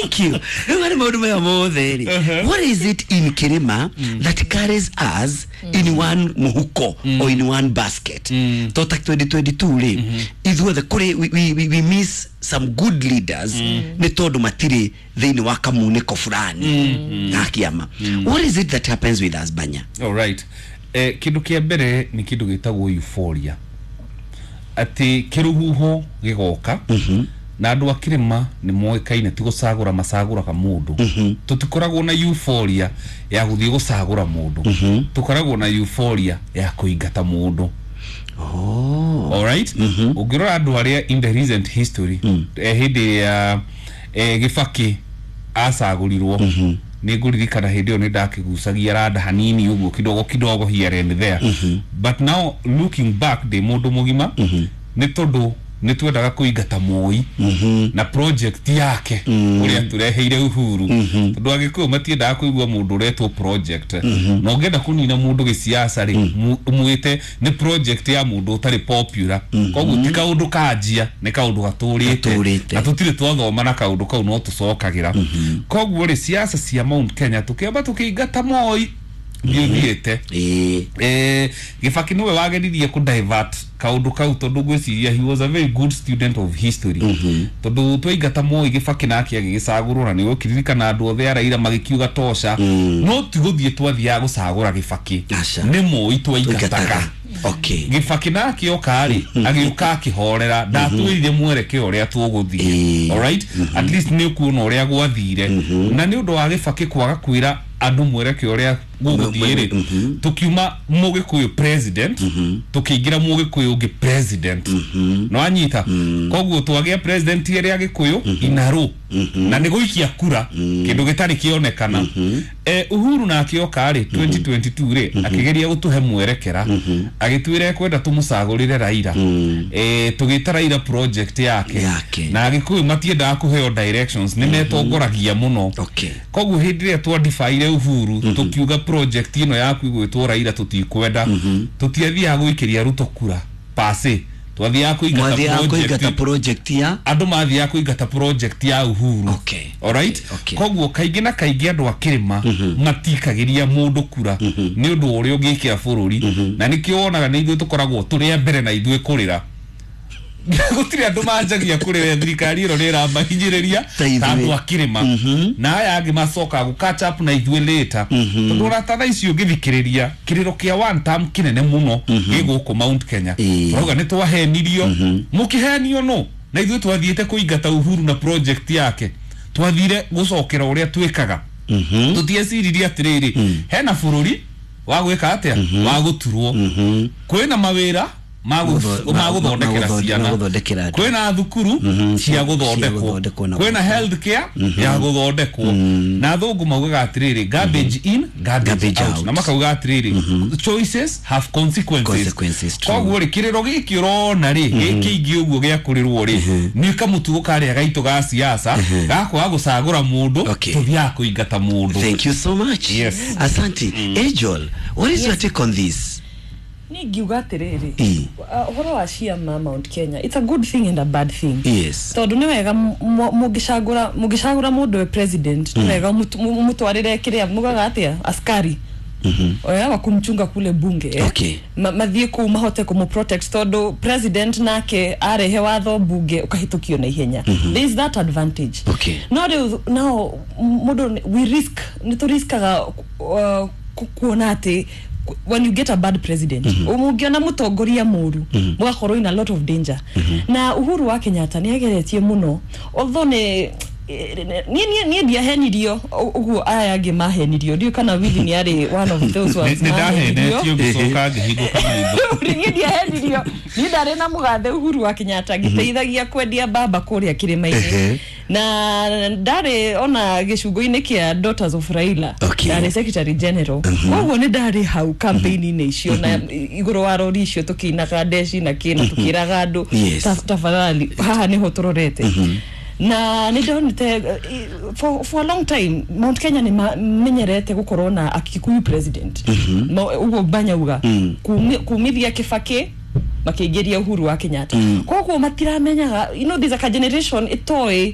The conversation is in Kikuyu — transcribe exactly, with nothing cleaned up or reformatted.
Thank you. Rĩu harĩ maũndũ maya mothe rĩ, what is it in Kĩrĩma that carries us in one mũhuko or in one basket? To ta twenty twenty-two rĩ, ithuothe kũrĩ we, we, we, we miss some good leaders nĩ tondũ matirĩ thĩinĩ wa kamunĩko fulani ga kĩama. What is it that happens with us, Banya? Alright, eh, kindu kia mbere nĩ kindu gĩtagwo euphoria, atĩ kĩrũhuho gĩgoka na andũ a kĩrĩma nĩ moĩkaine ti gũcagũra, macagũraga mũndũ. Tũtikoragwo na euphoria ya gũthiĩ gũcagũra mũndũ, tũkoragwo na euphoria ya kũingata mũndũ. Oh. Alright, ũngĩrora andũ arĩa in the recent history, eh, hĩndĩ ya eh, Gĩbakĩ acagũrirwo, nĩ ngũririkana hĩndĩ ĩyo nĩ ndakĩgucagia randa hanini ũguo kidogo kidogo here and there, but now looking back ndĩ mũndũ mũgima, nĩ tondũ nĩ twendaga kũingata Moi na project yake ũrĩa tũreheire Uhuru, tondũ Agĩkũyũ matiendaga kũigua mũndũ ũretwo project. Na ũngĩenda kũnina mũndũ gĩciaca rĩ, mu- mwĩte nĩ project ya mũndũ ũtarĩ popular. Koguo ti kaũndũ kanjia, nĩ kaũndũ gatũrĩte. Gatũrĩte. Na tũtirĩ twathoma na kaũndũ kau no tũcokagĩra. Koguo rĩ, siasa cia Mount Kenya, tũkĩamba tũkĩingata Moi ndiũthiĩte. Ĩĩ. eh, Gĩbakĩ nĩwe wageririe kũ divert kaũndũ kau, tondũ ngwĩciria he was a very good student of history, tondũ twaingata Moi, Gĩbakĩ nake agĩgĩcagũrwo, na nĩ ũkĩririkana andũ othe a Raila magĩkiuga tosha. No ti gũthiĩ twathiaga gũcagũra Gĩbakĩ, Aca. nĩ Moi twaingataga. Twaingataga. Okay. Gĩbakĩ nake oka rĩ, agĩũka akĩhorera, ndatwĩrire mwerekeo ũrĩa tũgũthiĩ. Ĩĩ. Alright, at least nĩ ũkuona ũrĩa gwathire, na nĩ ũndũ wa Gĩbakĩ kwaga kwĩra andũ mwerekeo ũrĩa gũgũthiĩ rĩ, tũkiuma Mũgĩkũyũ president, tũkĩingĩra Mũgĩkũyũ ũngĩ president. No anyita koguo twagĩa president ĩrĩa Agĩkũyũ inarũ na nĩ gũikia kura, kĩndũ gĩtarĩ kĩonekana. eh, Uhuru nake oka rĩ twenty twenty-two rĩ, akĩgeria gũtũhe mwerekera, agĩtwĩra ekwenda tũmũcagũrĩre Raila. eh, tũgĩta Raila project yake. Yake. Na Agĩkũyũ matiendaga kũheo directions, nĩ metongoragia mũno. Okay. Koguo hĩndĩ ĩrĩa twandibaire Uhuru, tũkiuga project ĩno yaku ĩgwĩtwo Raila tũtikwenda. Tũtiathiaga gũikĩria Ruto kura pase, twathiaga kũingata Mwathiaga kũingata project. Project ya Andũ mathiaga kũingata project ya Uhuru. Okay. Alright. Okay. Koguo kaingĩ na kaingĩ andũ a kĩrĩma matikagĩria mũndũ kura nĩ ũndũ wa ũrĩa ũngĩkĩra bũrũri, na nĩkĩo wonaga nĩ ithuĩ tũkoragwo tũrĩ a mbere na ithuĩ kũrĩra. Gũtirĩ andũ manjagia kũrĩra thirikari ĩno nĩ ĩramahinyĩrĩria Ta ithuĩ. Ta andũ a kĩrĩma, na aya angĩ macokaga gũ catch up na ithuĩ later, tondũ ũrata thaa ici ũngĩthikĩrĩria kĩrĩro kĩa one term kĩnene mũno gĩ gũkũ Mount Kenya. Ĩĩ. Tũrauga nĩ twahenirio. Mũkĩhenio no na ithuĩ twathiĩte kũingata Uhuru na project yake, twathire gũcokera ũrĩa twĩkaga. Tũtieciririe atĩrĩrĩ, hena bũrũri wa gwĩka atĩa, wa gũturwo, kwĩna mawĩra ma gũ- Gũtho- ma gũthondekera ma gũthonde- ciana, ma gũthondekera andũ. Kwĩna thukuru cia cia gũthondekwo, gũthondekwo na kwĩna health care ya gũthondekwo. Na thũngũ maugaga atĩrĩrĩ, "Garbage in, garbage Garbage out." out. Na makauga atĩrĩrĩ, "Choices have consequences." Consequences, true. Koguo rĩ, kĩrĩro gĩkĩ ũrona rĩ, gĩkĩ ũguo gĩa kũrĩrwo rĩ, nĩ kamũtugo karĩa gaitũ ga siasa gakwaga gũcagũra mũndũ. Okay. Tũthiaga kũingata mũndũ. Thank you so much. Yes. Asante. Angel, what is your take on this? Niĩ ngiuga atĩrĩrĩ, Ĩ. uh, ũhoro wa ciama Mount Kenya, it's a good thing and a bad thing. Yes. Tondũ nĩ wega mu- mũngĩcagũra mũngĩcagũra mũndũ we president, nĩ wega mũtu- mu- mũtwarĩre kĩrĩa mugaga atĩa, askari oya wa kumchunga kule bunge, eh? Okay. Ma, mathiĩ kũu mahote kũmũ-protect, tondũ president nake arehe watho bunge ũkahĩtũkio na ihenya. There is that advantage. Okay. No rĩu nao mũndũ nĩ- we risk, nĩ tũriskaga uh, ku- kuona atĩ when you get a bad president, mũngĩona mũtongoria mũru, mũgakorwo in a lot of danger. Na Uhuru wa Kenyatta nĩ ageretie mũno, although nĩ niĩ niĩ niĩ ndiahenirio ũguo aya angĩ mahenirio. Ndiũĩ kana Willy nĩ arĩ one of those ones nĩ mahenirio. Ndahenetio ngĩcoka ngĩhingũka maitho. Niĩ ndiahenirio, niĩ ndarĩ na mũgathe Uhuru wa Kenyatta ngĩteithagia kwendia mbamba kũrĩa kĩrĩma-inĩ, Ehe. na ndarĩ ona gĩcungo-inĩ kĩa Daughters of Raila. Okay. Ndarĩ secretary general, koguo nĩ ndarĩ hau campaign-inĩ icio na igũrũ wa rori icio tũkĩinaga ndeci na kĩ na tũkĩraga andũ, Yes. "Ta- tafadhali haha nĩho tũrorete." Na nĩ ndonete eh, for, for a long time Mount Kenya nĩ mamenyerete gũkorwo na Akikuyu president. Ma- ũguo banyauga Kumi- kumithia Kĩbakĩ makĩingĩria Uhuru wa Kenyatta, koguo matiramenyaga, you know there's a generation ĩtoĩ.